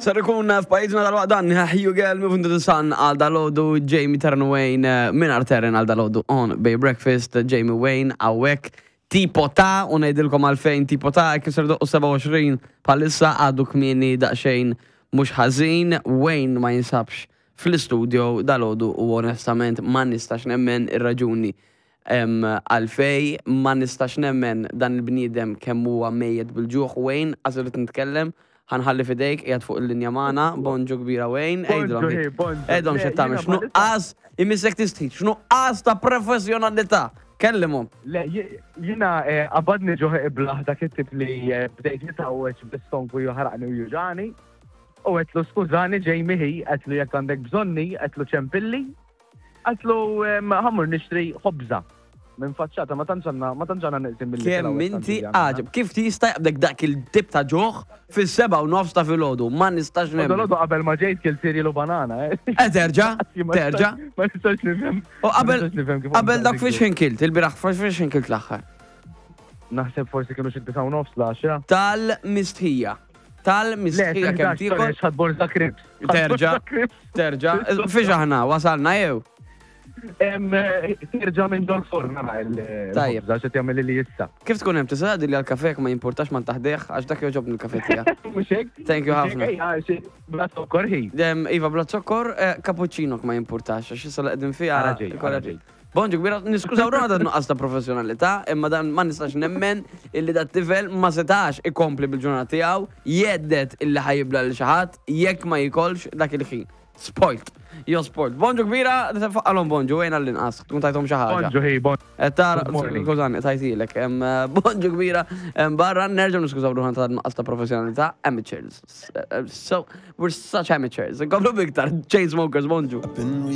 Ser ikun f'pajjiżna dal-waqt dan Hugh Girl Move into the Sun għal dalodu Jamie Terran Wayne eh, minn Terran għal dalodu on Bay Breakfast Jamie Wayne għawek tipo ta' u ngħidilkom għalfejn tipo ta' kif ser doqqu 27 bħalissa għadu kmieni daqsxejn mhux ħażin Wayne ma jinsabx fl-istudio dalodu u onestament ma nistax nemmen ir-raġuni Għalfej ma nistax nemmen dan il-bniedem kemm huwa mejjet bil-ġuħ Wayne, qas irrid nitkellem, ħa nħalli f'idejk, qiegħed fuq il-linja magħna, bonġu kbira Wayne, għidilhom għidilhom x'qed tagħmel, x'nuqqas, imissek tistħi, x'nuqqas ta' professjonalità, kellimhom. Le, jiena qabadni ġuħ iblah dak it-tip li bdejt nitgħawweġ bl-istonku jaħraqni u juġagħni, u għedtlu skużani Jamie ħi, għedtlu jekk għandek bżonni, għedtlu ċempilli, Għatlu ħammur nixtri ħobża minn faċċata ma tantx għandna ma tantx għandna neqsin mill Kemm inti għaġeb, kif tista' jaqbdek dak il-tip ta' ġuħ fis-7:30 ta' filgħodu, ma nistax nemmen. Filgħodu qabel ma ġejt kilt cereal u banana. Eh, eh terġa', terġa'. Ma nistax nifhem. U qabel qabel dak fiex ħin kilt, il-bieraħ fiex ħin kilt l-aħħar. Naħseb forsi kienu xi 9:30 l-10. Tal-mistħija. Tal-mistħija kemm tiekol. Ħadd borza krips. Terġa'. Terġa'. Fiex aħna wasalna jew? Terġa' minn ġol forn nara il. Tajjeb. Xi jagħmel li issa. Kif tkun hemm tista' tgħidli għall-kafè jekk ma jimpurtax ma ntaħdih għax dak jogħġobni l-kafè tiegħek. Mhux hekk? Thank you ħafna. Bla zokkor hi. Iva bla zokkor, eh, cappuccino ma jimpurtax għax issa li qegħdin fiha. Ara ġej, ara ġej. Bonġu kbira, niskużaw ruħna ta' nuqqas ta' professjonalità, imma dan ma nistax nemmen illi dat tifel ma setax ikompli bil-ġurnata tiegħu, jgħedded illi ħa jibla' lil xi ħadd jekk ma jikolx dak il-ħin. Spoilt. Jo spoilt. Bonġu kbira, faqqalhom bonġu, ejn għall-inqas, tkun tajthom xi ħaġa. Bonġu hi, bonġu. Qed tara, skużani, tajtilek. Bonġu kbira, barra nerġgħu niskużaw ruħna ta' nuqqas ta' professjonalità, amateurs. So, we're such amateurs. Nkomplu b'iktar, Chainsmokers, bonġu.